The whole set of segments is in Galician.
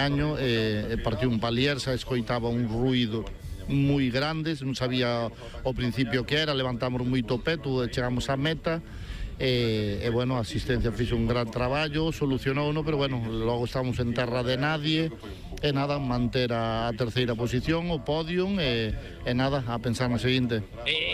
año partiu un palier, se escoitaba un ruido moi grande, non sabía ao principio que era, levantamos moito peto, chegamos á meta, bueno, a asistencia fixo un gran traballo, solucionouno, pero bueno, logo estamos en terra de nadie, e nada, manter a terceira posición, o podium, e nada, a pensar na seguinte.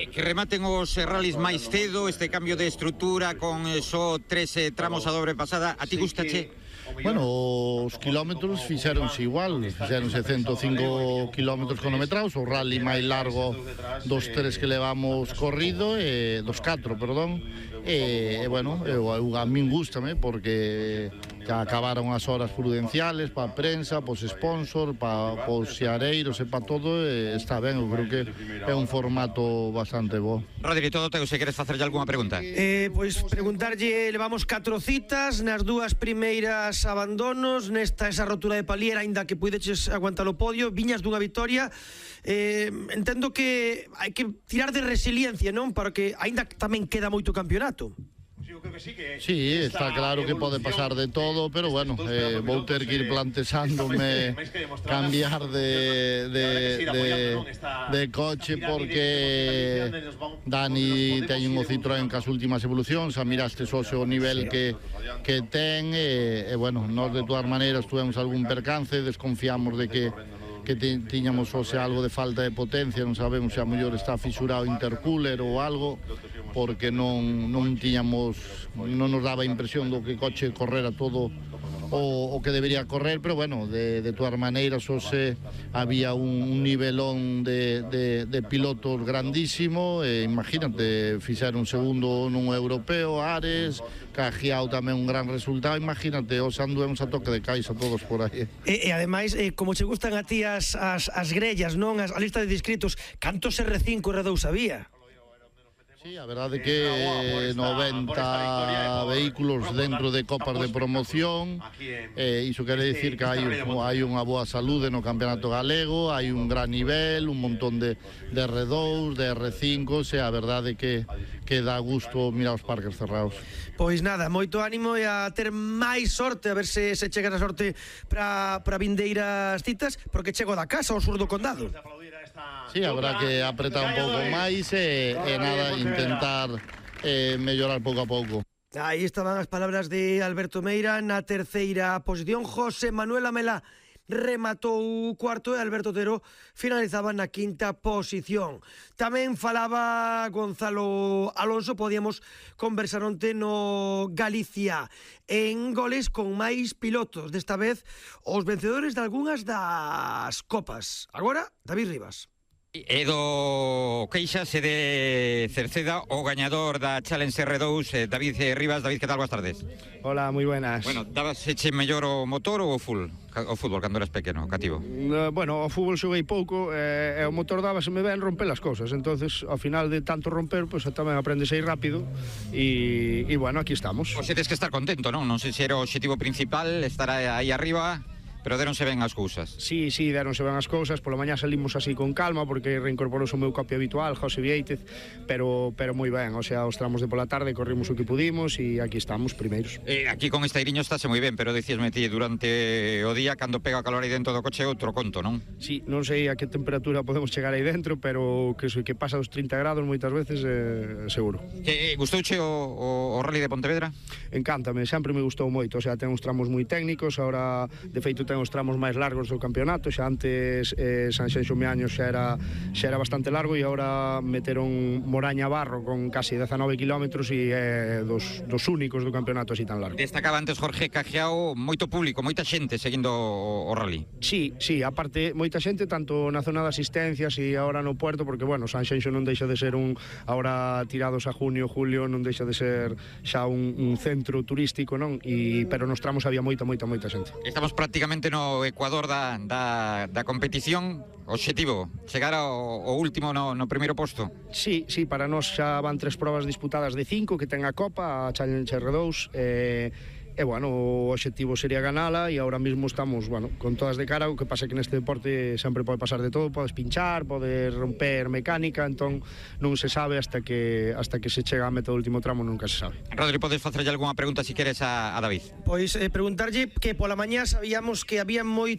Que rematen os rallies máis cedo, este cambio de estrutura con só 3 tramos a dobre pasada, a ti gustache? Bueno, os kilómetros fixéronse igual, fixéronse 105 kilómetros cronometrados, o rally máis largo dos 3 que levamos corrido, dos 4, perdón, bueno, a min gústame porque já acabaron as horas prudenciales para a prensa, para os sponsors, para os xeareiros e para todo, está ben, eu creo que é un formato bastante bo. Rodri, todo teu, se queres facerlle algunha pregunta. Pois preguntarlle, levamos 4 citas, nas dúas primeiras abandonos, nesta esa rotura de palier, aínda que puideches aguantar o podio, viñas dunha vitoria, entendo que hai que tirar de resiliencia, non? Para que aínda tamén queda moito campeonato. Sí, está claro que pode pasar de todo, pero bueno, vou ter que ir planteándome cambiar de coche porque Dani ten un Citroën cas últimas evolucións, a miraste só o nivel que ten, e bueno, nós de todas maneiras tuvemos algún percance, desconfiamos de que tiñamos algo de falta de potencia, non sabemos se a mellor está fisurado o intercooler ou algo, porque non nos daba a impresión do que o coche correra todo o que debería correr, pero bueno, de todas maneiras había un nivelón de pilotos grandísimo, imagínate, fixeron segundo nun europeo, Ares, Cajiao tamén un gran resultado, imagínate, os anduemos a toque de caixa todos por aí. E ademais, como che gustan a ti as grellas, non? A lista de inscritos, cantos R5 e R2 había? Sí, a verdade que 90 vehículos dentro de copas de promoción, iso quere dicir que hai unha boa saúde no campeonato galego, hai un gran nivel, un montón de R2, de R5, a verdade que dá gusto mirar os parques cerrados. Pois nada, moito ánimo e a ter máis sorte, a ver se chega a sorte para vindeiras citas, porque chego da casa ao sur do condado. Sí, habrá que apretar un pouco máis e nada, intentar mellorar pouco a pouco. Aí estaban as palabras de Alberto Meira na terceira posición. José Manuel Amelá rematou o cuarto e Alberto Otero finalizaba na quinta posición. Tamén falaba Gonzalo Alonso, podíamos conversar onte no Galicia en goles con máis pilotos, desta vez os vencedores de algunhas das copas. Agora, David Rivas. E do Queixas e de Cerceda, o gañador da Challenge R2, David Rivas. David, que tal? Boas tardes. Hola, moi buenas. Bueno, dabaseche mellor o motor ou o fútbol cando eras pequeno, cativo? Bueno, o fútbol xoguei pouco e o motor dábaseme ben romper as cousas, entonces ao final de tanto romper, pois tamén aprendes aí rápido e bueno, aquí estamos. Pois tes que estar contento, non? Non sei se era o objetivo principal, estar aí arriba, pero deronse ben as cousas. Sí, deronse ben as cousas. Pola mañá salimos así con calma porque reincorporouse o meu copio habitual, José Vieitez, pero moi ben, o sea, os tramos de pola tarde corrimos o que pudimos e aquí estamos primeiros. Aquí con este airiño estáse moi ben, pero dicíasme ti durante o día, cando pega o calor aí dentro do coche, outro conto, non? Sí, non sei a que temperatura podemos chegar aí dentro, pero que pasa os 30 grados moitas veces, seguro. Gustouche o Rally de Pontevedra? Encántame, sempre me gustou moito, o sea, ten uns tramos moi técnicos, ahora, de feito, ten os tramos máis largos do campeonato, xa antes Sanxenxo Meaño xa era bastante largo e agora meteron Moraña Barro con casi 19 kilómetros e dos únicos do campeonato así tan largo. Destacaba antes Jorge Cajiao, moito público, moita xente seguindo o rally. Sí, aparte moita xente tanto na zona de asistencias e agora no puerto, porque bueno, Sanxenxo non deixa de ser agora tirados a junio, julio, non deixa de ser xa un centro turístico, non? Pero nos tramos había moita xente. Estamos prácticamente no Ecuador da competición. Obxectivo, chegar ao último no primeiro posto? Sí, para nós xa van 3 probas disputadas de 5 que ten a Copa, a Challenge R2, e bueno, o obxectivo sería ganala e ahora mesmo estamos, bueno, con todas de cara. O que pasa é que neste deporte sempre pode pasar de todo, podes pinchar, podes romper mecánica, entón non se sabe hasta que se chega a meta do último tramo, nunca se sabe. Rodri, podes facerlle algunha pregunta si queres a David? Pois preguntarlle que pola mañá sabíamos que había moito